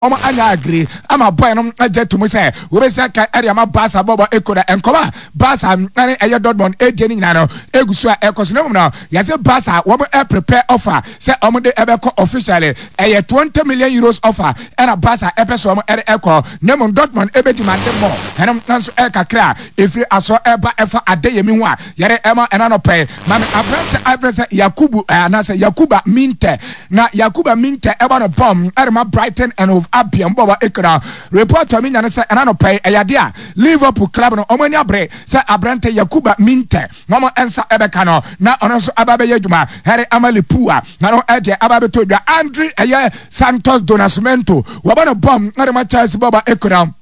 Wɔn anya agree ama boy no agye to mu sɛ wɔbɛsi aka ɛde ama Barca bɔbɔ eko na nkɔmɔ a Barca ne ɛyɛ Dortmund ɛredie no nyinaa no egu so a ɛkɔ so na mmom no yɛse Barca wɔn prepare offer sɛ wɔn de ɛbɛkɔ officially ɛyɛ 20 million euros offer ɛna Barca ɛpɛ sɛ wɔn ɛde ɛkɔ na mmom Dortmund ɛbɛ demand more ɛno nso ɛkakra a ɛfiri aso ɛba ɛfa Adeyemi ho a yɛde ɛma ɛna nɔpɛ ma me aberante a yɛfrɛ sɛ Yakubu anaasɛ Yakuba Minteh Na Yakuba Minteh ɛbɔ no bɔm ɛrema Brighton and Hove Albion bɔbɔ ekura. Report a menya ne sɛ ɛna anɔpa yi ɛyɛ adeɛ a Liverpool club no wɔn ani abere sɛ aberante Yakuba Minteh wɔn nsa ɛbɛka no na ɔno nso aba abɛyɛ adwuma ɛde ama Liverpool a na no ɛdeɛ aba abɛtɔ dwa. Andre ɛyɛ Santos do Nascimento wɔbɔ no bɔm ɛrema Chelsea bɔbɔ ekura.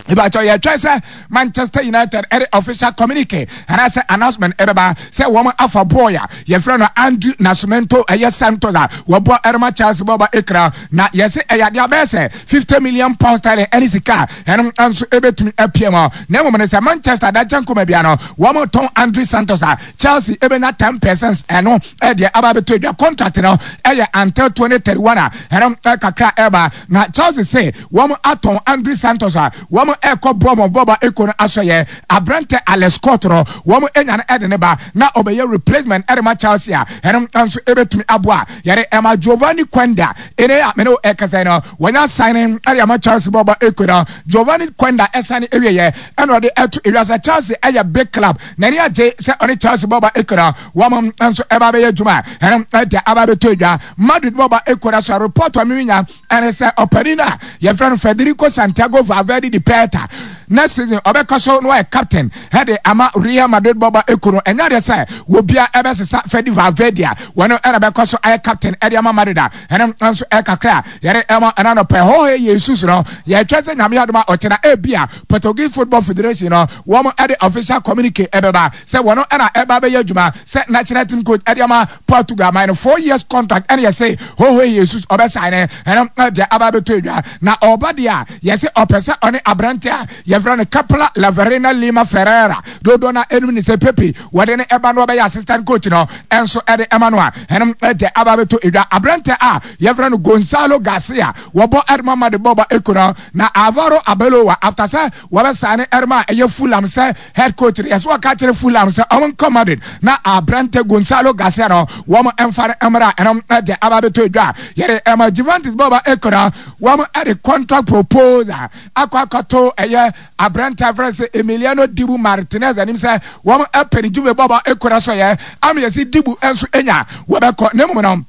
Ìbàkyɛ yɛtwɛn sɛ Manchester United ɛde official communique anaasɛ announcement ɛbɛba sɛ wɔn afa boy a yɛfrɛ no Andrew Nascimento ɛyɛ Santos a wɔbɔ ɛrema Chelsea bɔba ekra na yɛse ɛyɛ adeɛ abɛyɛ sɛ 50 million pounds sterling ɛne sika ɛno nso ɛbɛtumi apue mu na mmom no sɛ Manchester dakyɛ nkɔma bia no wɔn tɔn Andrew Santos a Chelsea ɛbɛnya 10 percent ɛno ɛdeɛ aba abɛtɔ adwa contract no ɛyɛ until 2031 a ɛno kakra ɛba na Chelsea se Wɔn atɔn Andre Santos a wɔn ɛkɔ Bournemouth bɔba eko no asɔyɛ. Abrantɛ Alex Scott no wɔn anya no ɛde ne ba na ɔbɛyɛ replacement ɛde ma Chelsea a ɛno nso ɛbɛtumi aboa. Yɛde ɛma Giovanni Quenda ene a mene wo ɛkasa yi no wɔnya signing ɛde ama Chelsea bɔba eko no. Giovanni Quenda ɛsane ɛwieɛ ɛna ɔde ɛto ewiase Chelsea ɛyɛ big club n'ani agye sɛ ɔne Chelsea bɔba eko no wɔn nso ɛba bɛyɛ adwuma ɛno ɛde aba bɛtɔ edwa. Madrid bɔba eko no so report a meminya Ɛne sɛ ɔpanin a yɛfrɛ no Federico Santiago Valverde de Perta next season ɔbɛkɔ so na wayɛ captain ɛde ama Real Madrid bɔbɔ ekuo no. Ɛnyɛ adeɛ sɛ wɔbia ɛbɛsesa Fede Valverde a wɔno ɛna bɛkɔ so ayɛ captain ɛde ama Madrid a ɛno nso ɛkakra a yɛde ɛma ɛna nɔpɛ. Jorge Jesus no yɛtwɛn sɛ Nyame adom a ɔkyena ebia Portuguese Football Federation no wɔn ɛde official communique ɛbɛba sɛ wɔno ɛna ɛba bɛyɛ adwuma sɛ national team coach ɛde ama Portugal man no 4 years contract ɛna yɛse Jorge Jesus ɔbɛsan ne ɛno ɛde aba abɛtɔ edwa na ɔba deɛ a yɛse ɔpɛ sɛ ɔne aberante a yɛfrɛ no Kepler Laverina Lima Ferreira dodoɔ no ɛnum ne sɛ Pepe wɔde ne ɛba no ɔbɛyɛ assistant coach no ɛnso ɛde ɛma no a ɛno ɛde aba abɛtɔ edwa aberante a yɛfrɛ no Gonzalo Garcia wɔbɔ ɛde ma de bɔba ekuro na Alvaro Arbeloa after sɛ wɔbɛsan ne ɛde ma ɛyɛ Fulham sɛ head coach no yɛsɛ wɔka kyerɛ Fulham sɛ ɔmo nkɔ Madrid na aberante Gonzalo Garcia no wɔn mfa no mmra ɛno ɛde aba abɛtɔ edwa yɛde ɛma Juventus bɔba ekura wɔn ɛde contract proposal akɔ akɔto ɛyɛ aberante afrɛ sɛ Emiliano Dibu Martinez anim sɛ wɔn ɛpɛ ne Juve bɔba ekura so yɛ ama yɛsi Dibu nso enya wɔbɛkɔ na mmom no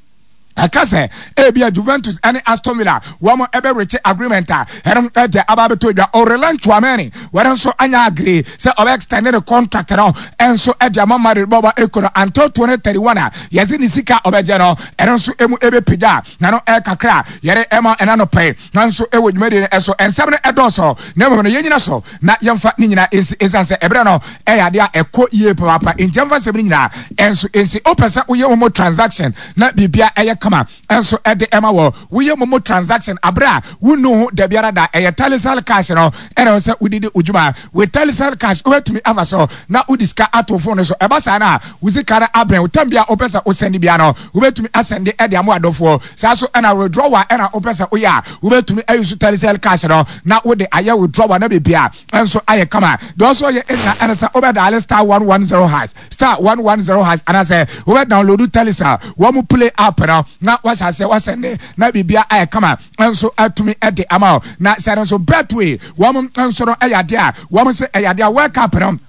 ɛka sɛ ebia Juventus ne Aston Villa wɔn ɛbɛrekye agreement a ɛno ɛde aba abɛtɔ dwa. Aurelien Tchouameni wɔn nso anya agree sɛ ɔbɛ extend ne contract no ɛnso ɛde ama Madrid bɔbɔ eko no until 2031 a yɛdze ne sika ɔbɛgye no ɛno nso emu ɛbɛpagya na no ɛkakra yɛde ɛma ɛna no pɛi nanso ɛwɔ dwumadie no ɛso nsɛm no ɛdɔɔso na mmom no yɛnyina so na yɛmfa ne nyinaa nsi ɛsiane sɛ ɛberɛ no ɛyɛ adeɛ a ɛkɔ yie papaapa nti yɛmfa nsɛm no nyinaa ɛnso nsi. Wopɛ sɛ woyɛ momo transaction na biribia ɛyɛ kama ɛnso ɛde ɛma wɔ woyɛ momo transaction aberɛ a wonnu ho da biara da ɛyɛ Telecel cash no ɛna ɛwɔ sɛ wodidi wo dwuma with Telecel cash. Wobɛtumi afa so na wode sika ato phone no so ɛba saa no a wo sika no abɛn wo tam bia wopɛ sɛ wosɛnde bia no wobɛtumi asɛnde ɛde ama adɔfoɔ saa so ɛna withdrawal ɛna wopɛ sɛ woyɛ a wobɛtumi ayi so Telecel cash no na wode ayɛ withdrawal na biribia nso ayɛ kama. Deɛ ɔsɔ yɛ ɛnyina ɛne sɛ wobɛ dial *110# *110# anaasɛ wobɛ download Telecel wɔn mu play app no na wahyɛ aseɛ wasɛnde na biribia ayɛ kama nso atumi ɛde ama wo. Na sɛ no nso Betway wɔn nso no ɛyɛ adeɛ a wɔn sɛ ɛyɛ adeɛ a World Cup no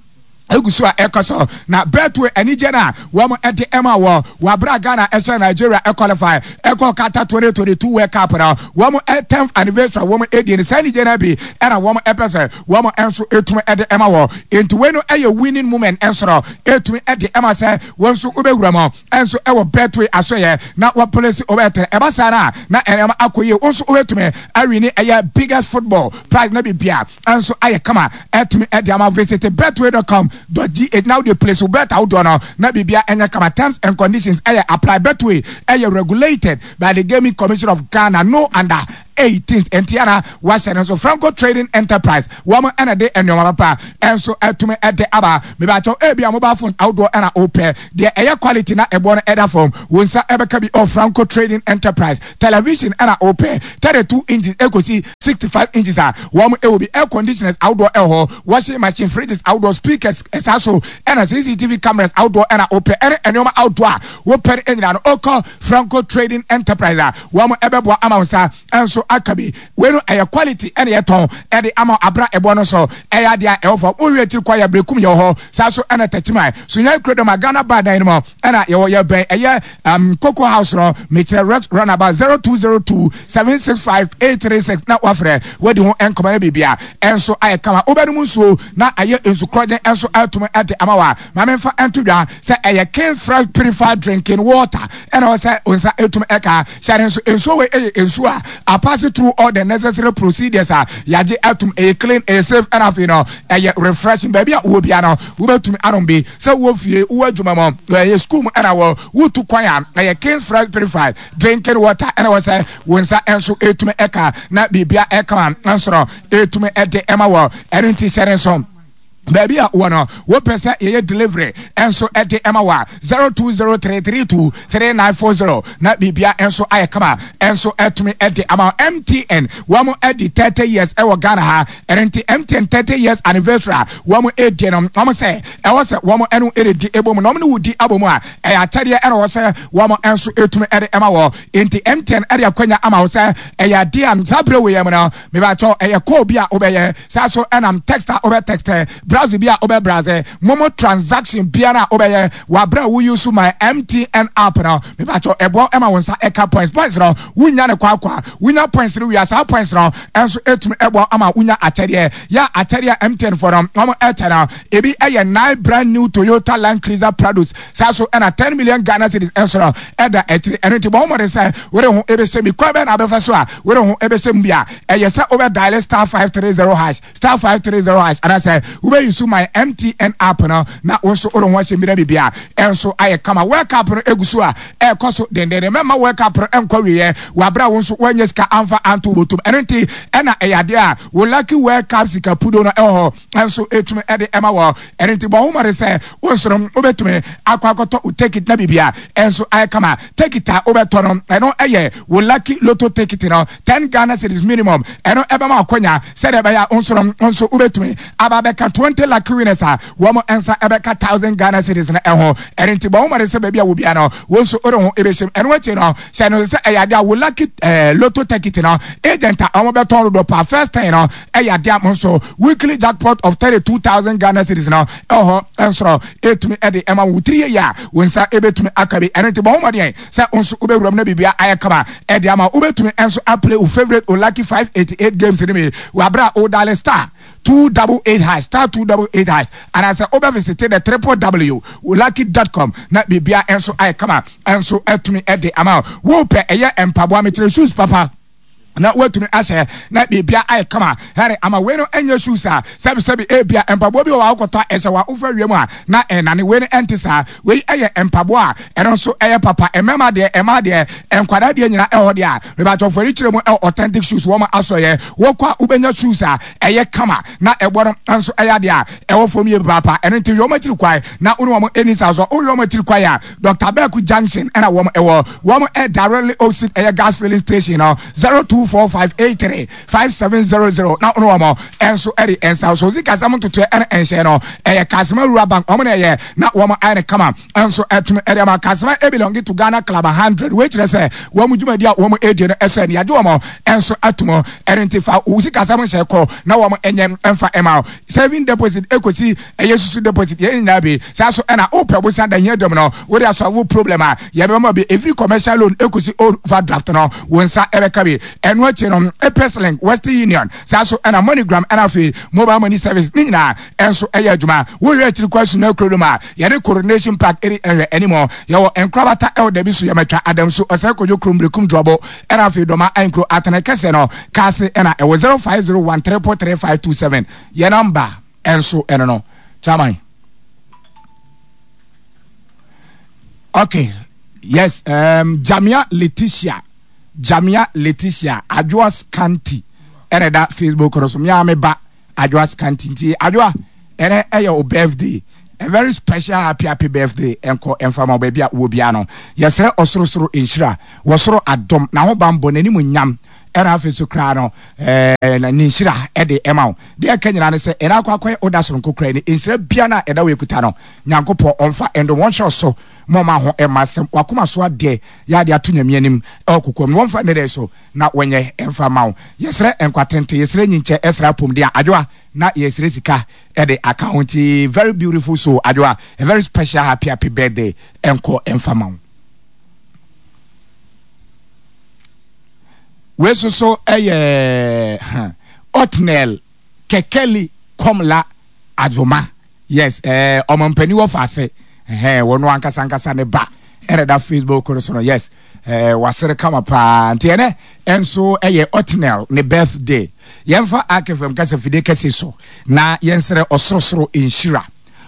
egu so a ɛkɔ so na Betway anigye no a wɔn ɛde ɛma wɔ wabra Ghana ɛhyɛ Nigeria ɛqualify ɛkɔ Qatar 2022 World Cup no wɔn 10th anniversary a wɔn edi no saa anigye no bi ɛna wɔn ɛpɛ sɛ wɔn nso etum ɛde ɛma wɔ nti wei no ɛyɛ winning moment ɛnso no etum ɛde ɛma sɛ wɔn nso wobɛwura mu ɛnso ɛwɔ Betway asoyɛ na wɔplace ɔbɛtɛ ɛba saa na na ɛnɛma akɔ yie wɔn nso wobɛtumi awin ɛyɛ biggest football prize na bibia ɛnso ayɛ kama ɛtumi ɛde ama. Visit betway.com.gh na wode place wo bet ahodoɔ no na biribia ɛnyɛ kama. Terms and conditions ɛyɛ apply. Betway ɛyɛ regulated by the Gaming Commission of Ghana. No under 18th. Enti ana wahyɛ no nso Franco Trading Enterprise wɔn ɛna de nneɛma papa ɛnso ɛtumi ɛde aba. Mebakyɛw ebi a mobile phones ahodoɔ ɛna wopɛ deɛ ɛyɛ quality na ɛboɔ no ɛda fam, wo nsa ɛbɛka bi ɔ Franco Trading Enterprise. Television ɛna wopɛ 32 inches ɛkɔsi 65 inches a wɔn ɛwɔ bi. Air conditioners ahodoɔ ɛwɔ hɔ, washing machine, fridges ahodoɔ, speakers, ɛsaa so ɛna CCTV cameras ahodoɔ ɛna wopɛ ɛne nneɛma ahodoɔ a wopɛ no nyinaa no wokɔ Franco Trading Enterprise a wɔn ɛbɛboa ama wo nsa nso aka bi. Wei no ɛyɛ quality ɛna yɛtɔn ɛde ama abra ɛboɔ no so ɛyɛ adeɛ a ɛwɔ fam. Wohwɛ akyiri kɔ yɛ Berekum yɛwɔ hɔ saa so ɛna Takyiman Sunyani Kurodɔm a Ghana bar dan no mu ɛna yɛwɔ yɛbɛn ɛyɛ um, Cocoa House no mekyerɛ Rex Runabout 0202 765 836 na wafrɛ wadi ho nkɔmɔ no biribia ɛnso ayɛ kama. Wobɛnom nsuo na ayɛ nsu korɔgyen ɛnso atumi ɛde ama wa. Ma memfa nto dwa sɛ ɛyɛ King's Fresh Purified Drinking Water ɛna ɔsɛ nsa ɛtumi ɛka hyɛ ne nso. Nsuo wei ɛyɛ nsuo a apass through all the necessary procedures a yɛagye atum. Ɛyɛ clean, ɛyɛ safe, ɛna afei no ɛyɛ refreshing. Baabi a wowɔ bia no wobɛtumi anom bi, sɛ wowɔ fie, wowɔ adwuma mu, ɛyɛ school mu, ɛna wɔ wotu kwan a, ɛyɛ King's Fresh Purified Drinking Water ɛna wɔ sɛ wo nsa nso ɛtumi ɛka na biribia ɛka nso no ɛtumi ɛde ɛma wɔ. Ɛno nti hyɛ ne nso baabi a wɔ no wopɛ sɛ yɛyɛ delivery nso ɛde ɛma wa 0203323940 na biribia nso ayɛ kama nso ɛtumi ɛde ama. MTN wɔn ɛdi 30 years ɛwɔ Ghana ha. Ɛno nti MTN 30 years anniversary a wɔn ɛdi no, wɔn sɛ ɛwɔ sɛ wɔn ɛno ɛredi ɛbɔ mu na wɔn ne wodi abɔ mu a ɛyɛ akyɛdeɛ ɛna wɔ sɛ wɔn nso ɛtumi ɛde ɛma wɔ. Nti MTN ɛde akwanya ama wɔ sɛ ɛyɛ adeɛ a saa berɛ wɔ yɛn mu no mebakyɛw ɛyɛ call bi a wobɛyɛ saa so ɛnam text a wobɛ text, browse bi a wobɛ browse, momo transaction biara a wobɛyɛ wɔ aberɛ a wo use my MTN app no, mebakyɛw ɛboa ɛma wo nsa ɛka points. Points no wonya ne kwakwa, wonya points no wia saa points no ɛnso ɛtumi ɛboa ama wonya akyɛdeɛ. Yɛ akyɛdeɛ a MTN foɔ no wɔn ɛkyɛ no ebi ɛyɛ 9 brand new Toyota Land Cruiser Prados, saa so ɛna 10 million Ghana cedis ɛnso no ɛda akyiri. Ɛno nti bɔ ho mmɔden sɛ wode ho ɛbɛhyɛ mi. Kwan bɛn na abɛfa so a wode ho ɛbɛhyɛ mu bi a ɛyɛ sɛ wobɛ dial *530#, *530# anaasɛ wobɛyi so my MTN app no na wo nso wode ho ahyɛ mi na biribia ɛnso ayɛ kama. World Cup no egu so a ɛrekɔ so dendenden. Mɛma World Cup no ɛnkɔ wieɛ wɔ abere a wo nso woanya sika amfa anto wo bɔtɔm. Ɛno nti ɛna ɛyɛ adeɛ a wo lucky World Cup sika pudo no ɛwɔ hɔ ɛnso ɛtumi ɛde ɛma wɔ. Ɛno nti bɔ ho mmɔden sɛ wo nso no wobɛtumi akɔ akɔtɔ wo ticket na biribia ɛnso ayɛ kama. Ticket a wobɛtɔ no ɛno ɛyɛ wo lucky lotto ticket no, 10 Ghana cedis minimum. Ɛno ɛbɛma akwanya sɛdeɛ ɛbɛyɛ a wo nso no nso wobɛtumi aba abɛka 20 lucky winners a wɔn nsa ɛbɛka 1000 Ghana cedis no ɛho. Ɛno nti bɔ ho mmɔden sɛ baabi a wo bia no wo nso wode ho ɛbɛhyɛm. Ɛno akyi no sɛ no sɛ ɛyɛ adeɛ a wo lucky lotto ticket no agent a wɔn bɛtɔn dodoɔ paa first ten no ɛyɛ adeɛ a mo nso weekly jackpot of 32,000 Ghana cedis no ɛwɔ hɔ ɛnso ɛtumi ɛde ɛma wo tiri yɛ a wo nsa ɛbɛtumi aka bi. Ɛno nti bɔ ho mmɔden sɛ wo nso wobɛwura mu na biribia ayɛ kama ɛde ama. Wobɛtumi nso aplay wo favorite o lucky 588 games no mi wɔ aberɛ a wo dial *288#, *288# anaasɛ wobɛvisit the www.lucky.com na biribia nso ayɛ kama nso atumi ɛde ama wo. Wopɛ ɛyɛ mpaboa, mekyerɛ shoes papa na watumi ahyɛ na biribia ayɛ kama hɛre ama. Wei no ɛnyɛ shoes a sɛbisɛbi ebia mpaboa bi wɔ hɔ akɔtɔ a ɛhyɛ wa wofa wiem a na ɛnane. Wei no ɛnte saa. Wei ɛyɛ mpaboa a ɛno nso ɛyɛ papa, mmarima deɛ, mmaa deɛ, nkwadaa deɛ nyinaa ɛwɔ deɛ a mebatɔfo ani kyerɛ mu. Ɛwɔ authentic shoes wɔn asɔyɛ wɔkɔ a wobɛnya shoes a ɛyɛ kama na ɛbɔ no nso ɛyɛ adeɛ a ɛwɔ fam yie papaapa. Ɛno nti hwɛ wɔn akyiri kwan na wo ne wɔn ani sa so. Wohwɛ wɔn akyiri kwan a, Dr Beku Junction ɛna wɔn ɛwɔ. Wɔn ɛ directly opposite ɛyɛ gas filling station no, 0245835700 na wɔn wɔn ɛnso ɛde nsa so sika sɛm ntotoɛ ɛna ɛnhyɛn no ɛyɛ Kasima Rural Bank wɔn na ɛyɛ na wɔn ayɛ ne kama ɛnso ɛtumi ɛde ama. Kasima ebelong to Ghana Club 100. Wei kyerɛ sɛ wɔn dwumadi a wɔn edi no ɛsɛ ne yagye wɔn ɛnso atum. Ɛno nti fa wo sika sɛm nhyɛ kɔ na wɔn ɛnyɛ ɛnfa ɛma saving deposit ekosi ɛyɛ susu deposit yɛn nyinaa bi saa so. Ɛna wopɛ bosan da hia dɔm no wode asɔwo problem a yɛbɛma bi, ɛfiri commercial loan ɛkɔsi overdraft no wo nsa ɛbɛka bi. Ɛno akyi no Apex Link, Western Union, saa so ɛna MoneyGram, ɛna afei mobile money service ne nyinaa ɛnso ɛyɛ adwuma. Wohwɛ akyiri kɔ asu no akuro no mu a yɛne Coronation Park ɛdi ɛhwɛ anim. Yɛwɔ nkorabata ɛwɔ dabi so yɛmatwa adam so ɔsɛ kɔdwo kurom berekum drɔbo, ɛna afei dɔma ankuro atene kɛsɛ no kaase ɛna ɛwɔ 0501 333527 yɛ namba ɛnso ɛno no. Chairman, okay, yes, Jamia Letitia. Jamia Leticia Adwoa Scanty ɛna ɛda Facebook no so. Mea me ba Adwoa Scanty nti Adwoa ɛnɛ ɛyɛ o birthday. A very special happy happy birthday ɛnkɔ ɛmfa ma wo baabi a wowɔ biara no. Yɛsrɛ ɔsorosoro nhyira, wɔsoro adom, n'ahobanbɔ, n'animuonyam ɛna afei so koraa no ɛɛ ne nhyira ɛde ɛma wo. Deɛ ɛka nyinaa ne sɛ ɛna akɔ akɔyɛ oda soronko koraa ni nhyira biara no a ɛda wo ekuta no Nyankopɔn ɔmfa ɛndom wɔnhyɛ wo so ma ɔma ho ɛmma asɛm wakoma so adeɛ yɛ adeɛ ato Nyame anim ɛwɔ kokoam no wɔmfa nnɛ so na wɔnyɛ ɛmfa ma wo. Yɛsrɛ nkwa tenten, yɛsrɛ nyinkyɛ, ɛsrɛ apɔmuden a Adwoa na yɛsrɛ sika ɛde aka ho nti very beautiful soul Adwoa a very special happy happy birthday ɛnkɔ ɛmfa ma wo. Wei nso so ɛyɛ Otnel Kekeli Komla Adzoma. Yes, eh, ɔmampanin wɔ faase. Eh, wɔn ankasa ankasa ne ba ɛna da Facebook no so no. Yes, eh, wasere kama paa. Nti ɛnɛ ɛnso ɛyɛ Otnel ne birthday. Yɛmfa AKFM kasa fide kɛse so na yɛnsrɛ ɔsorosoro nhyira.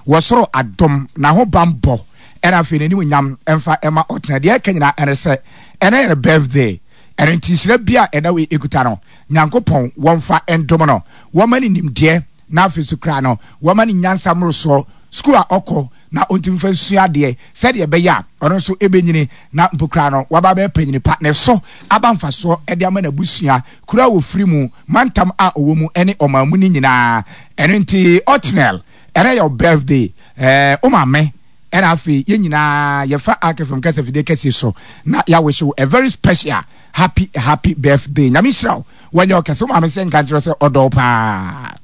Wɔsoro adom, n'ahobanbɔ, ɛna afei n'animuonyam mfa ɛma ɔtena. Deɛ ɛka nyinaa ɛne sɛ, ɛnɛ yɛ ne birthday. Ɛno nti nhyira bi a ɛda wei ɛkuta no, Nyankopɔn wɔmfa ndom no, wɔma no nimdeɛ, na afei so koraa no, wɔma no nyansa mmorosoɔ, sukuu a ɔkɔ na ɔntumi mfa nsua adeɛ, sɛdeɛ ɛbɛyɛ a ɔno nso ɛbɛnyini na mpo koraa no waba abɛyɛ panyini pa, na ɛso aba mfasoɔ de ama n'abusua, kuro a ɔfiri mu, mantam a ɔwɔ mu ne ɔman mu no nyinaa. Ɛno nti Otniel, ɛnɛ yɛ wo birthday, eh, wo maame ɛna afei yɛn nyinaa yɛfa Ark FM kasa fidie kɛseɛ so na yɛawish wo a very special happy happy birthday. Nyame nhyira wo, wanyɛ wo kɛse. Wo maame sɛ nka nkyerɛ sɛ ɔdɔ wo paa.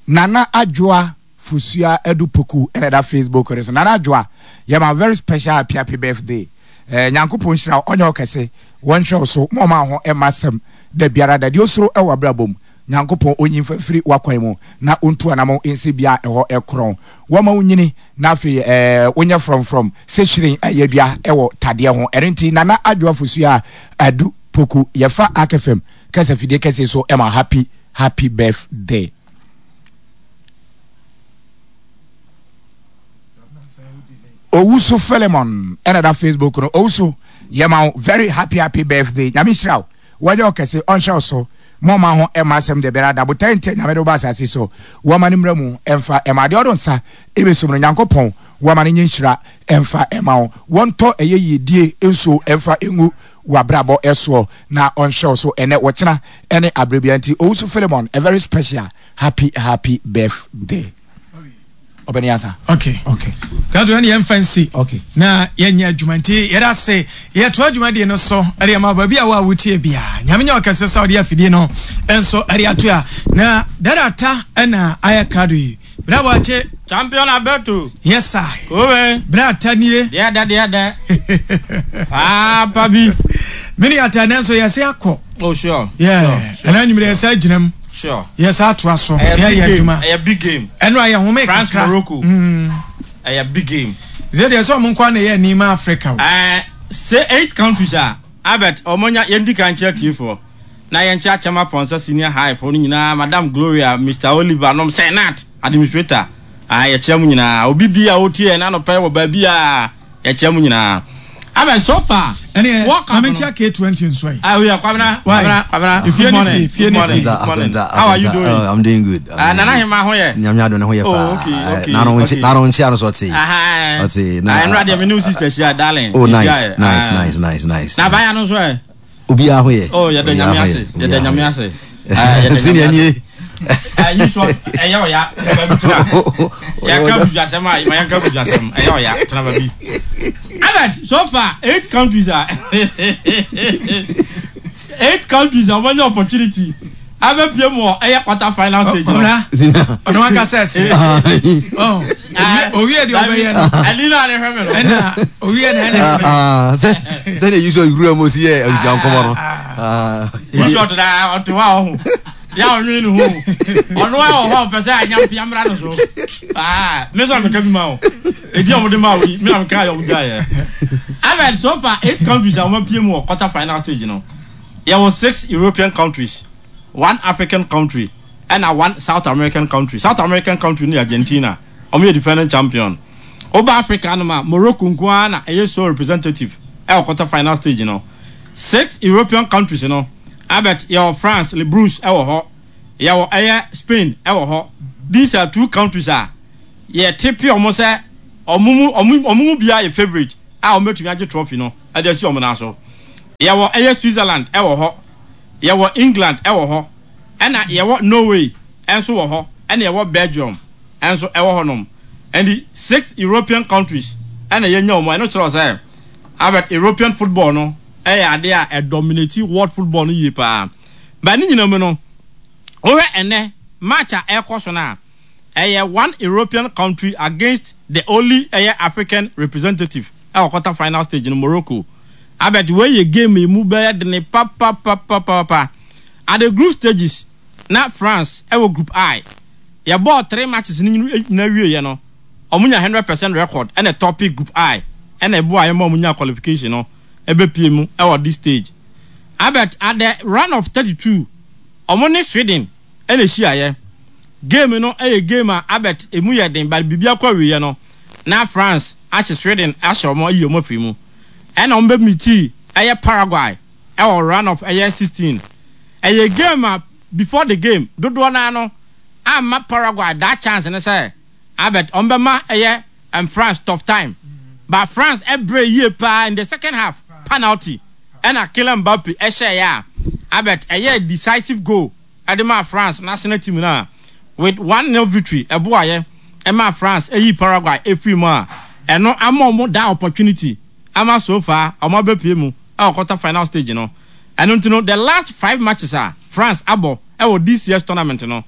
Nana Adwoa Fosua Adu Poku ɛna ɛda Facebook no so. Nana Adwoa, yɛ ma very special happy happy birthday. Eh, Nyankopɔn nhyira wo, ɔnyɛ wo kɛse, wɔnhwɛ wo so, ma ɔma ho ɛma asɛm da biara da. Deɛ osuro ɛwɔ abrabɔ mu, Nyankopɔn onyi mfa mfiri w'akwan mu na ontu anamɔn nsi bea a ɛhɔ ɛkorɔn. Wɔma wo nyini na afei eh, wonyɛ frɔmfrɔm sɛ hwiren a yɛadua ɛwɔ tadeɛ ho. Ɛno nti Nana Adwoa Fosua Adu Poku, yɛfa Ark FM kasafidie kɛseɛ so ɛma happy happy birthday. Owusu Philemon ɛna da Facebook no. Owusu, yɛma wo very happy happy birthday. Nyame nhyira wo. Wɔnyɛ wo kɛse, ɔnhyɛ wo so. Mo ɔma ho ɛma asɛm de biara da. Botae nti a Nyame de wo ba asase so. Wɔma no mmra mu ɛmfa ɛma adeɛ ɔdo nsa ɛbɛsum no. Nyankopɔn wɔma no nyɛ nhyira ɛmfa ɛma wo. Wɔntɔ ɛyɛ yiedie nsuo ɛmfa ɛngu w'abrabɔ ɛsoɔ na ɔnhyɛ wo so ɛnɛ, ɔkyena ɛne aberɛ biara. Nti Owusu Philemon, a very special happy happy birthday. Ɔbɛne asa. Okay. Okay. Gato ɛne yɛmfa nsi. Okay. Na yɛnyɛ adwuma nti yɛda ase yɛtoa dwumadie no so ɛde ama baabi a wo a wotie bia. Nyame nyɛ ɔkɛse sɛ ɔde afidie no nso ɛde ato a na dada ta ɛna ayɛ krado yi. Bra boakye. Champion Alberto. Yes sir. Kobe. Bra ta nie. Deɛ dɛ deɛ dɛ. Paapa bi. Mene ata nanso yɛse akɔ. Oh sure. Yeah. Sure. Sure. Ɛna anwummerɛ yɛsa agyina mu. Sure. Yɛsa atoa so. Ɛyɛ Yɛyɛ big game. adwuma. Ɛyɛ big game. Ɛno a yɛhome France kakra. Morocco. Mm. Ɛyɛ big game. Sɛ deɛ sɛ ɔmo nkoa na ɛyɛ ani ma Africa o. Ɛɛ sɛ eight countries a Albert ɔmo nya yɛn di kan kyerɛ tiefoɔ na yɛn kyerɛ Akyem Aponsa senior high foɔ no nyinaa Madam Gloria Mister Oliver nom Senat administrator ah yɛkyerɛ mo nyinaa obi bi a ɔtie yɛn anɔpa yi wɔ baabi a yɛkyerɛ mo nyinaa Albert so far Ɛneɛ World Cup ma no menkyia K20 nso ɛ. Ah, yeah, Kwabena, Why? Kwabena, Kwabena. Efie Good ne morning. fie, efie Good ne morning. fie. Good morning. Akonta, How are you akonta. doing? Oh, I'm doing good. I'm Ah, doing Nana good. Hema ho yɛ. Nyame adom ne ho yɛ Oh, paa. okay, Eh, okay, N'ano okay. n'ano nkyia no so ɔte. Aha. Ɔte. Ah, ɛnura deɛ me ne wo sister hyia, darling. Oh, Yɛhyia nice, yɛ. nice, Ah. nice, nice, nice. Na abaya no nso ɛ? Obiara ho yɛ. Oh, yɛda Obiara Nyame ho ase. yɛ. Yɛda Obiara ho Nyame yɛ. ase. Ah, yɛda Nyame Senior ase. nie. Ah, yi so ɛyɛ ɔya tena baabi tena. Yɛka busuasɛm a ma yɛnka busuasɛm ɛyɛ ɔya tena baabi. Albert, so far eight countries a eight countries a wɔanya opportunity abɛpie mu wɔ ɛyɛ quarter final stage no. Ɔna ɔno ankasa ɛsɛ. Owie deɛ ɔbɛyɛ no. Ɛni na ne hwɛ mi no. Ɛna owie na ɛna ɛsɛ. Sɛ sɛ de yusuf wura mu si yɛ abusua nkɔmɔ no. Yusuf ɔtɔ da ɔte hɔ a ɔho. Yà ɔnwene ne ho ɔno a ɔhɔ ɔpɛ sɛ anya mpia mmra no so. Me nso na meka bi ma o. Edi a wɔde maa wo yi, me na meka yɛ wɔn gya yɛ. Ahmed, so far eight countries a wɔn apue mu wɔ quarter final stage no, yɛwɔ six European countries, one African country, ɛna one South American country. South American country no yɛ Argentina, wɔn yɛ defending champion. Woba Africa hanom a, Morocco nko ara na ɛyɛ sole representative wɔ quarter final stage no. Six European countries no, Albert, yɛwɔ France, Les Blues wɔ hɔ, yɛwɔ ɛyɛ Spain wɔ hɔ. These are two countries a yɛtepe wɔn sɛ wɔn mu wɔn wɔn mu biara yɛ favourite a wɔbɛtumi agye trophy no de asi wɔn nan so. Yɛwɔ ɛyɛ Switzerland wɔ hɔ, yɛwɔ England wɔ hɔ, ɛna yɛwɔ Norway nso wɔ hɔ, ɛna yɛwɔ Belgium nso wɔ hɔnom. Ɛnti six European countries ɛna yɛnya wɔn. Ɛno kyerɛ wo sɛ Albert, European football no yɛ adeɛ a ɛdominate world football no yie paa. But ne nyinaa mu no, wohwɛ ɛnnɛ match a ɛrekɔ so no a, ɛyɛ one European country against the only ɛyɛ African representative ɛwɔ quarter final stage no, Morocco. Albert, wei yɛ game a emu bɛyɛ dene papapapapapa. At the group stages, na France ɛwɔ group I. Yɛbɔɔ three matches no nyinaa wieɛ no, wɔn nya 100% record ɛna ɛtɔpe group I ɛna ɛboa yɛn ma wɔn nya qualification no ɛbɛpie mu ɛwɔ this stage. Albert, at the round of 32, wɔn ne Sweden ɛna ɛhyiaeɛ. Game no ɛyɛ game a Albert ɛmu yɛ den but biribi akɔ awieɛ no na France ahye Sweden ahyɛ wɔn ayi wɔn afiri mu. Ɛna wɔn bɛ meetii ɛyɛ Paraguay ɛwɔ round of ɛyɛ 16. Ɛyɛ game a before the game dodoɔ no ara no amma Paraguay that chance no sɛ Albert wɔn bɛma ɛyɛ ɛm France tough time but France ɛbrɛ yie paa in the second half panalty ɛna Kylian Mbappe ɛhyɛeɛ a Albert ɛyɛɛ decisive goal ɛde maa France national team no a with one nil victory ɛboaeɛ ɛmaa France ɛyii Paraguay ɛfiri mu a ɛno ama wɔn that opportunity ama so far wɔn abɛpue mu ɛwɔ quarter final stage no ɛno nti no the last five matches a France abɔ ɛwɔ this year's tournament no.